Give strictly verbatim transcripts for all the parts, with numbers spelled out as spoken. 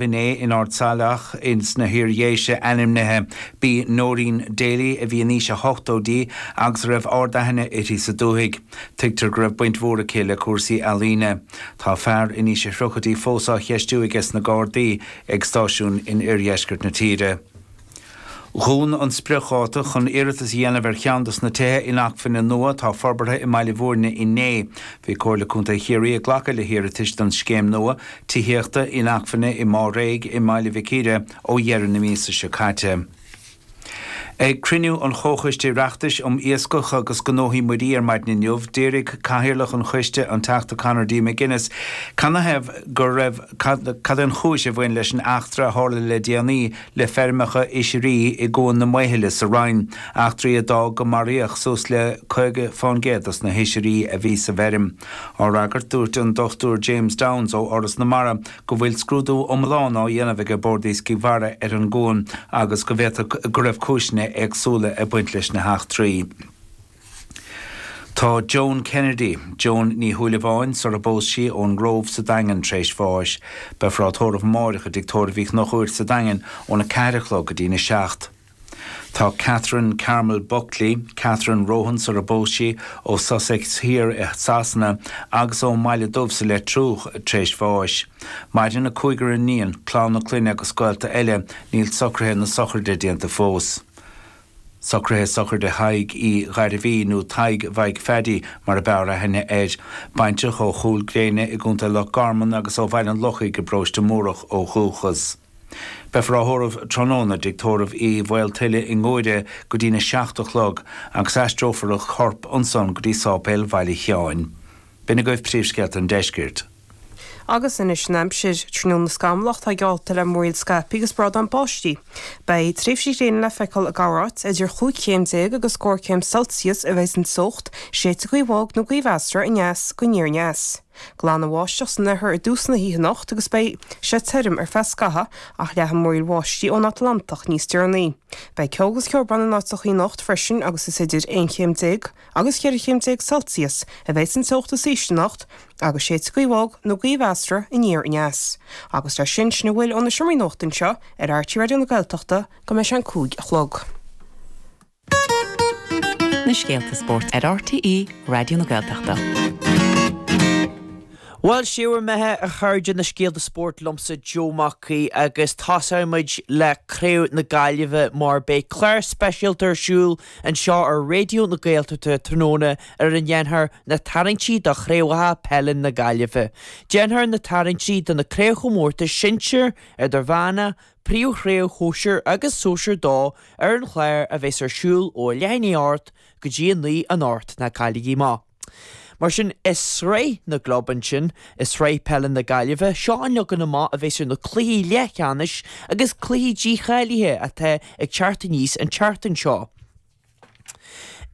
inné in Ard Saileach ins na hIar-Dhéise ainmnithe. B'í Noreen Daly a bhí in aois a hochtóidí agus a raibh ard-aithne uirthi sa dúthaigh. Tuigtear go raibh baint mhór aici le cúrsaí ealaíne. Tá fear in aois a tríochaidí fós á cheistiú aige sna Gardaí ag stáisiún in oirdheisceart na tíre. Dhún an spriocdháta chun iarratas a dhéanamh ar cheann dos na tithe inacmhainne nua atá forbartha i mBaile Bhúirne inné. Bhí Comhairle Contae Chiarraí ag glacadh le hiarratais don scéim nua tithíochta inacmhainne i Máréig i mBaile Mhic Íre ó dheireadh na míosa seo caite. Ag cruinniú an Chomhchoiste Oireachtais um Iascach agus Gnóthaí Muirí ar maidin inniu, d'éirigh cathaoirleach an choiste an Teachta Conor D. McGuinness canathaobh go raibh cad é an chúis a bhain leis an eachtra a tharla le déanaí le feirmeacha oisrí i gCuan na Maothaile sa Rinn, eachtraí a d'fhág go maraíodh suas le caoga fán gcéad dos na hoisrí a bhí sa bhfeirm. Á fhreagairt dúirt an Dochtúir James Downes ó Fhoras na Mara go bhfuil scrúdú iomlán á dhéanamh ag Bord Iascaigh Mhara ar an gcuan agus go bhféadfadh go raibh cúiseanna éagsúla ag baint leis na heachtraí. Tá Joan Kennedy, Joan Ní Shúilleabháin sar a bpós sí ón nGrove sa Daingean tar éis bháis. Beifear á tórramh amárach i dTigh Tórraimh Uí Chonchúir sa Daingean óna ceathair a chlog go dtí na seacht. Tá Catherine Carmel Buckley, Catherine Rohan sar a bpós sí ó Sussex Thiar i Sasana agus ón mBaile Dubh sa Leitriúch tar éis bháis. Maireann a cúigear iníon, clann na clainne agus gaolta eile, níl socruithe na sochraide déanta fós. Socruithe sochraide Thaidhg Uí Ghairbhí nó Tadhg Mhaidhc Phaddy mar a b'fhearr aithne air. Baintreach ó Chúil Gréine i gContae Loch Garman agus ó Bhaile an Lochaigh i bparóiste Múrach ó dhúchas. Beifear á thórramh tráthnóna i dTigh Tórraimh Uí Mhaoltuile i nGuaire go dtí na seacht a chlog agus aistreofar a chorp ansan go dtí Sáipéal Bhaile Sheáin. B'in agaibh príomhscéalta an deiscirt. Agus anois an aimsir tráthnóna scamallach tá geallta le múraíl scaipthe agus brádán báistí. Beidh tréimhsí gréine le feiceáil i gcorráit idir chúig chéim déag agus scór céim Celsius a bheidh an teocht, séidfidh gaoth bhog nó gaoth mheasartha aneas go aniar aneas. Glanadh bháisteach san oirthear i dtús na hoíche anocht agus beidh sé tirim ar feadh scathaimh ach leathfaidh múraíl bháistí ón Atlantach níos deireanaí. Beidh ceo agus ceobhrán in áiteacha anocht freisin agus is idir aon chéim déag agus ceithre chéim déag Celsius a bheidh an teocht is ísle anocht agus séidfidh gaoth bhog nó gaoth mheasartha aniar aneas. Agus leis sin sin a bhfuil ó na seomraí nuachta anseo ar R T É Raidió na Gaeltachta go mbeidh sé an cúig a chlog. Na scéalta spóirt ar R T É Raidió na Gaeltachta. Bhuel siúr methe a chairde, na scéalta spóirt liomsa Joe Mac Aoidh, agus tosóimid le Craobh na Gaillimhe mar beidh clár speisialta ar siúl anseo ar Raidió na Gaeltachta tráthnóna ar a ndéanfar na tarraingtí do chraobhacha peile na Gaillimhe. Déanfar na tarraingtí do na craobhchomórtais sinsir, idirmheánach, príomhchraobh shóisir agus sóisir dó ar an chlár a bheas ar siúl ó leath i ndiaidh a hocht go dtí a naoi anocht, ná cailligí amach. Mar sin i sraith na gclub ansin, i sraith peile na Gaillimhe, seo an leagan amach a bheas ar na cluichí leathcheannais agus cluichí dícháilithe atá ag teacht aníos an tseachtain seo.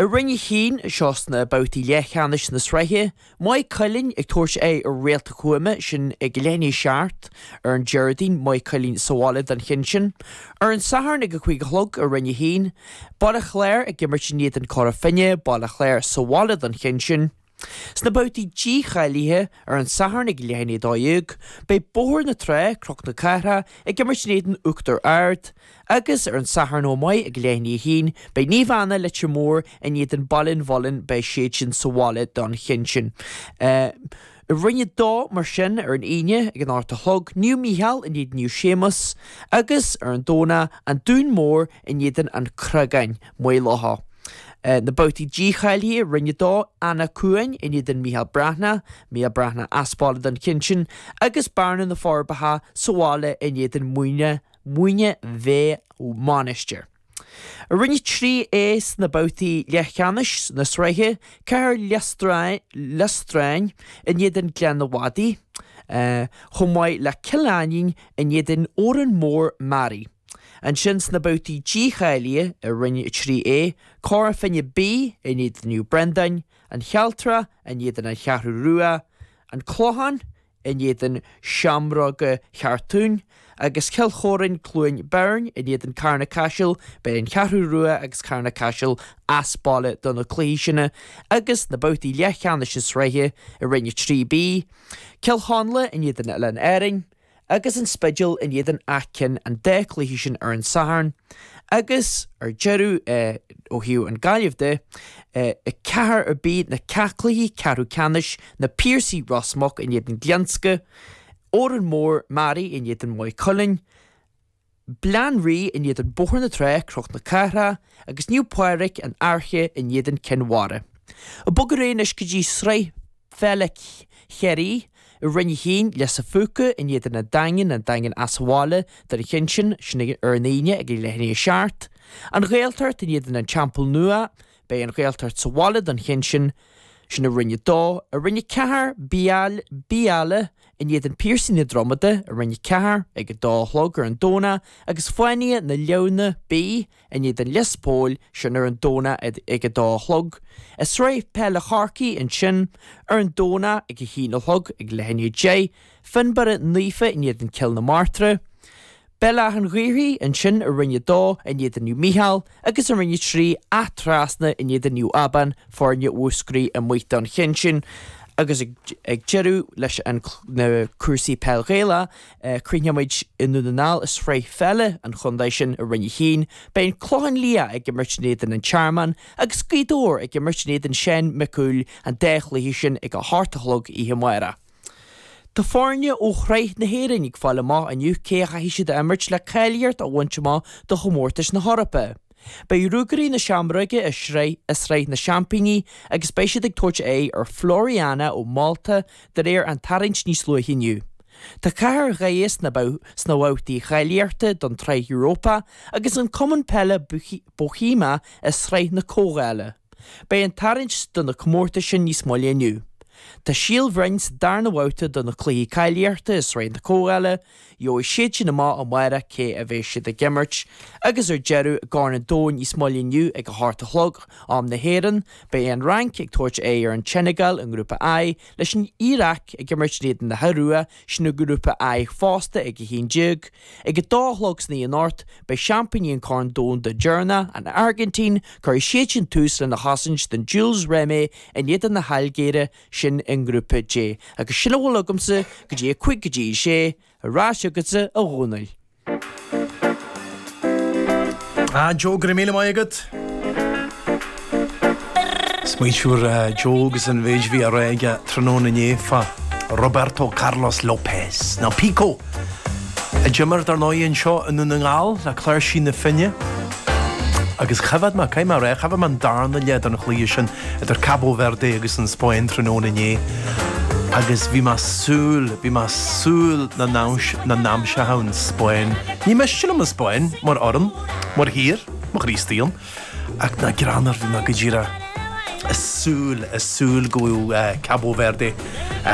I Roinn a haon, seo sna babhtaí leathcheannais na sraithe, Maigh Cuilinn ag tabhairt aghaidh ar Réalta Thuama, sin ag leath i ndiaidh a seacht ar an Déardaoin, Maigh Cuilinn sa bhaile don cheann sin. Ar an Satharn ag a cúig a chlog i Roinn a haon, Baile Chláir ag imirt in éadan Cora Finne, Baile Chláir sa bhaile don cheann sin. Sna babhtaí dícháilithe ar an Satharn ag leath i ndiaidh a dó dhéag, beidh Bóthar na Trá, Cnoc na Cathrach, ag imirt in éadan Uachtar Ard, agus ar an Satharn chomh maith ag leath i ndiaidh a haon, beidh Naomh Anna Leitir Móir in éadan Baile an Mhuilinn, beidh siad sin sa bhaile don cheann sin. I Roinn a dó mar sin ar an Aoine ag an ocht a chlog, Naomh Mícheál in éadan Naomh Séamus agus ar an Domhnach an Dún Mór in éadan an Chreagáin, Maigh Locha. Na babhtaí dícháilithe, Roinn a dó, Eanach Cuain in éadan Mícheál Breathnach, Mícheál Breathnach as baile don cheann sin, agus Bearna na Forbacha sa bhaile in éadan Muine Muine Mheá Mainistir. I Roinn a trí A sna babhtaí leathcheannais na sraithe, Cathair Loistreáin in éadan Gleann an Mhadaidh, chomh maith le Cill Ainnín in éadan Órán Mór Mearaí. Ansin sna babhtaí dícháilithe i Roinn a trí A, Cora Finne B in éadan Naomh Brendáin, An Chealtrach in éadan An Cheathrú Rua, An Clochán in éadan Seamróga Cheartúin, agus Cill Chóráin Cluain Bheirn in éadan Carna Caiseal. Beidh An Cheathrú Rua agus Carna Caiseal as baile do na cluichí sin agus na babhtaí leathcheannais na sraithe i Roinn a trí B, Cill Chonla in éadan Oileáin Árainn, agus an Spidéal in éadan Áth Cinn an dá chluiche sin ar an Satharn agus ar deireadh ó thaobh an Gaillimh de, i ceathair ar bith na ceathchluichí ceathrú ceannais na Piarsaigh Ros Muc in éadan Glionsca, Órán Mór Mearaí in éadan Maigh Cuilinn, Bleán Rí in éadan Bóthar na Trá, Cnoc na Cathrach agus Naomh Pádraig an Fhairche in éadan Cinn Mhara. Ag bogadh ar aghaidh anois go dtí Sraith Pheile Chiarraí i Roinn a hAon, Lios a' Phúca in éadan an Daingin, an Daingean as bhaile don cheann sin, sin ar an Aoine ag a leath i ndiaidh a seacht. An Ghaeltacht in éadan an Teampall Nua, beidh an Ghaeltacht sa bhaile don cheann sin, sin i Roinn a Dó. I Roinn a Ceathair, Biaille in éadan Piarsaigh na Dromada i Roinn a Ceathair ag a dó a chlog ar an Domhnach agus Fáinne na Leamhna B in éadan Lios Póil, sin ar an Domhnach ag a dó a chlog. I Sraith Peile Chorcaí ansin ar an Domhnach ag a haon a chlog ag leath i ndiaidh a deich, Fionnbarra Naofa in éadan Cill na Martra. Béal Átha an Ghaorthaidh ansin i Roinn a Dó in éadan Naomh Mícheál agus i Roinn a Trí, Áth Trasna in éadan Naomh Abán, foirne Mhúscraí amuigh don cheann sin. Agus ag deireadh leis an na cúrsaí peil Ghaelach, críochnóimid i nDún na nGall i sraith pheile an chontae sin i Roinn a hAon. Beidh an Clochán Liath ag imirt in éadan an Tearmann agus Gaoth Dobhair ag imirt in éadan Seán Mac Cumhaill an dá chluiche sin ag a hocht a chlog oíche amárach. Tá foirne ó Shraith na hÉireann ag fáil amach inniu cé a chaithfidh siad a imirt le cáilíocht a bhaint amach do chomórtais na hEorpa. Beidh Ruagairí na Seamróige i sraith i Sraith na Seaimpíní agus beidh siad ag tabhairt aghaidh ar Floriana ó Mhálta de réir an tarraingt níos luaithe inniu. Tá Cathair Dhoire sna sna babhtaí cháilíochta don tSraith Europa agus an Cumann Peile Bohemia i Sraith na Comhdhála. Beidh an tarraingt do na comórtais sin níos moille inniu. Tá Síol Bhroin sa darna bhabhta do na cluichí cáilíochta i Sraith na Comhdhála, gheobhaidh siad sin amach amárach cé a bheidh siad ag imirt. Agus ar deireadh, i gCorn an Domhain níos moille inniu ag a hocht a chlog, am na hÉireann, beidh an Fhrainc ag tabhairt aghaidh ar an tSeineagáil i nGrúpa I, leis an Iaráic ag imirt in éadan na hIorua, sin i nGrúpa I fosta ag a haon déag. Ag a dó a chlog san oíche anocht, beidh seaimpíní an Chorn Domhanda deireanach, an Airgintín, cuirfidh siad sin tús lena chosaint don Jules Rimet in éadan na hAilgéire, sin i nGrúpa J. Agus sin a bhfuil agamsa go dtí a cúig go dtí a sé, ar ais chugatsa a Dhónaill. Ah, Joe, go raibh míle maith agat. Smaoitiú ar Joe agus an mhéid bhí á rá aige tráthnóna inné fá Roberto Carlos Lopez, nó Pico, a d'imir dar ndóigh anseo i nDún na nGall le Cláirsí na Finne. Agus choimhéad mé, caithfidh mé a rá, choimhéad mé an darna leath den chluiche sin idir Cabo Verde agus an Spáinn tráthnóna inné agus bhí mé súil, bhí mé súil na n-aimseodh an Spáinn. Ní miste liom an Spáinn mar fhoireann, mar thír, mo Chríostaí ach nach greannmhar, bhí mé go díreach ag súil, ag súil go bhfuil Cabo Verde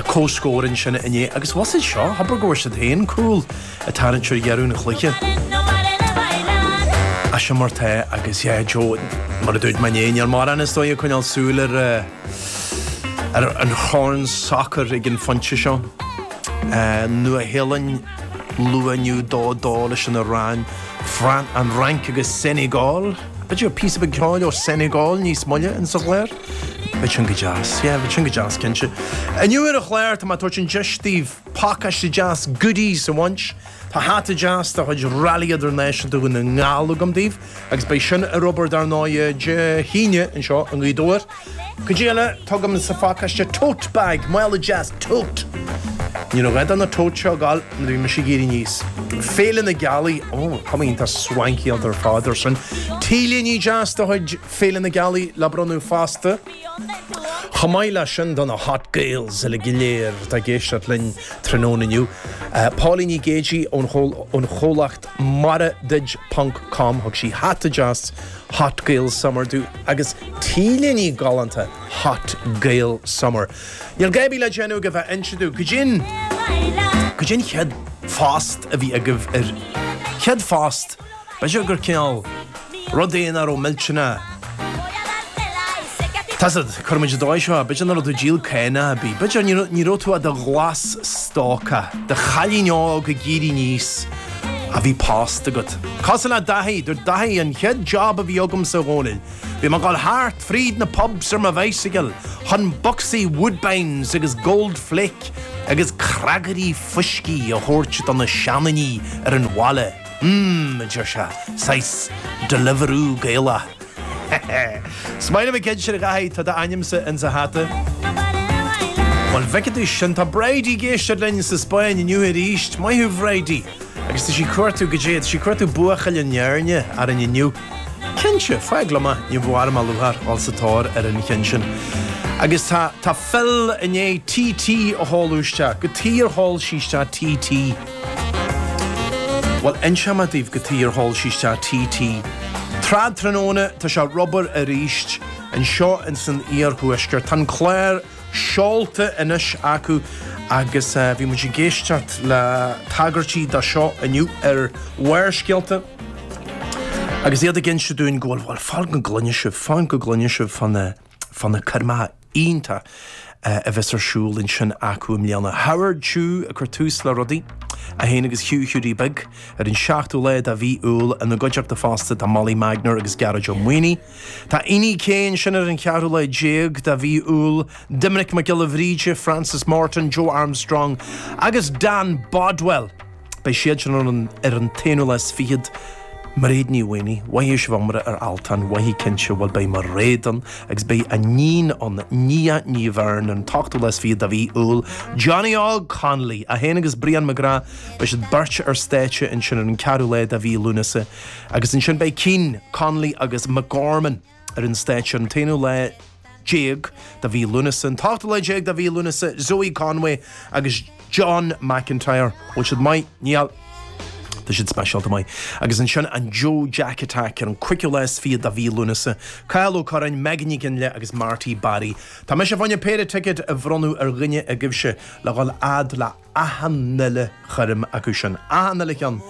comhscór ansin inné agus was it seo, abair go bhfuair siad féin cúl ag tarraingt ar dheireadh an chluiche. Ach sin mar tá agus yeah Joe, mar a dúirt mé inné, níl mórán is dóigh ag coinneáil súil ar ar an chorn sacair ag an phointe seo. Nua-Shéalainn luath inniu dó dó leis an Iaráin, an Fhrainc agus Senegal. B'fhéidir píosa beag ceoil ó Senegal níos moille in sa chlár? Bheadh sin go deas. Yeah, bheadh sin go deas, cinnte. Inniu ar an chlár, tá mé ag tabhairt an deis daoibh pacáiste deas goodies a bhaint. Tá hata deas de chuid Rally Idirnáisiúnta Dhún na nGall agam daoibh agus beidh sin ar obair dar ndóigh Dé hAoine anseo i nGaoth Dobhair. Cuid eile, tá agam sa phacáiste tote bag, mála deas tote. Ní raibh gá do na tote seo a ghabháil nuair a bhí mise ag éirí aníos. Féile na Gealaí, ó, cuma iontach swanky ar fad ar sin. T-léine deas de chuid Féile na Gealaí le bronnadh fosta. Chomh maith leis sin do na Hot Gaels uilig go léir atá ag éisteacht linn tráthnóna inniu. Pauline Ní Géidigh ón chomhlacht maraduit ponc com thug sí hata deas Hot Gael Summer domh agus t-léine galánta Hot Gael Summer. Níl gá ar bith le déanamh ach a bheith ag inse domh cad é an cad é an chéad phost a bhí agaibh ar chéad phost b'fhéidir gur cineál rud é nach raibh millteanach Tá a fhios agat, cuirfidh muid an dóigh seo, b'fhéidir nach raibh tú ag díol cánach ar bith, b'fhéidir ní raibh, ní raibh tú i do ghlas-stócach, do chailín óg ag éirí aníos, A bhí post agat. Cosúil le Daithí, dúirt Daithí an chéad job a bhí agamsa a Dhónaill. Bhí mé ag dul thart fríd na pubs ar mo bhicycle chun bocsaí Woodbines agus Gold Flake agus creagairí fuiscí a thabhairt do na seandaoine ar an bhaile. Mmm, a deir sé, saghas Deliveroo Gaelach. Is maith liom an ceann sin a Dhaithí, tá d'ainmse insa hata. Bhuel bhfeicfidh tú sin tá Bridie ag éisteacht linn sa Spáinn inniu arís, maith thú Bridie. Agus tá sí ag cuartú goidé, tá sí ag cuartú buachaill na hÉirne orainn inniu. Cinnte, fág liom é, ní bhfuair mé lúcháir dul sa tóir ar an cheann sin. Agus tá tá Phil i ndiaidh TT a sheoladh isteach, cad chuige ar sheol sé isteach TT. Bhuel, inseoidh mé daoibh cad chuige ar sheol sé isteach TT. Trad tráthnóna tá sé ag obair arís anseo in san iarthuaisceart. Tá an clár seolta anois acu agus uh, bhí muid ag éisteacht le tagairtí dó seo inniu ar Bharrscéalta. Agus iad ag inse dúinn go bhfuil bhfuil fan go gcluine sibh, fan go gcluine sibh fan na fan na coirmeacha iontacha uh, a bheas ar siúl ansin acu i mbliana. Howard Chu ag cur tús le rudaí é féin agus Hugh Hughie Big ar an seachtú lá de mhí Iúil ina gcuideachta fosta tá Molly Magner agus Gearóid Ó Maonaigh. Tá Iní Céin sin ar an cheathrú lá déag de mhí Iúil, Doiminic Mac Giolla Bhríde, Francis Morton, Joe Armstrong agus Dan Bodwell. Beidh siad sin ar an ar an t-aonú lá is fichead Mairéad Ní Mhaonaigh, mhaith sibh iomra ar Altan, mhaith cinnte bhfuil beidh Mairéad ann agus beidh a níon ann Nia Ní Bheirn an t-ochtú lá is fichead de mhí Iúil. Johnny Og Connolly é féin agus Brian McGrath beidh siad beirt ar stáitse ansin ar an ceathrú lá de mhí Lúnasa agus ansin beidh Keane Connolly agus McGorman ar an stáitse an t-aonú lá déag de mhí Lúnasa an t-ochtú lá déag de mhí Lúnasa Zoe Conway agus John McIntyre bhfuil siad maith níl Tá siad speisialta maith. Agus ansin an Joe Jack Attack ar an cúigiú lá is fiche de mhí Lúnasa, Kyle O'Curran, Megan Ní Ginle agus Marty Barry. Tá mise fá choinne péire ticket a bhronnadh ar dhuine agaibhse le dhul fhad le achan uile choirm acu sin. Achan uile cheann.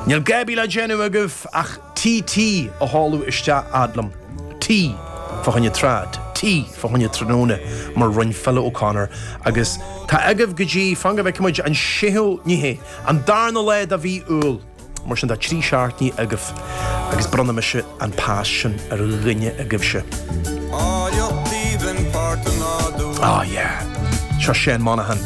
Níl gá le déanamh agaibh ach TT a sheoladh isteach fhad liom. T fá choinne trad, T fá choinne tráthnóna mar rinne Phil O'Connor agus tá agaibh go dtí fan go bhfeicfimid an séú ní hé an darna lá de mhí Iúil mar sin tá trí seachtainí agaibh agus bronnfaidh mise an pas sin ar dhuine agaibhse. Ah yeah, seo Shane Monahan.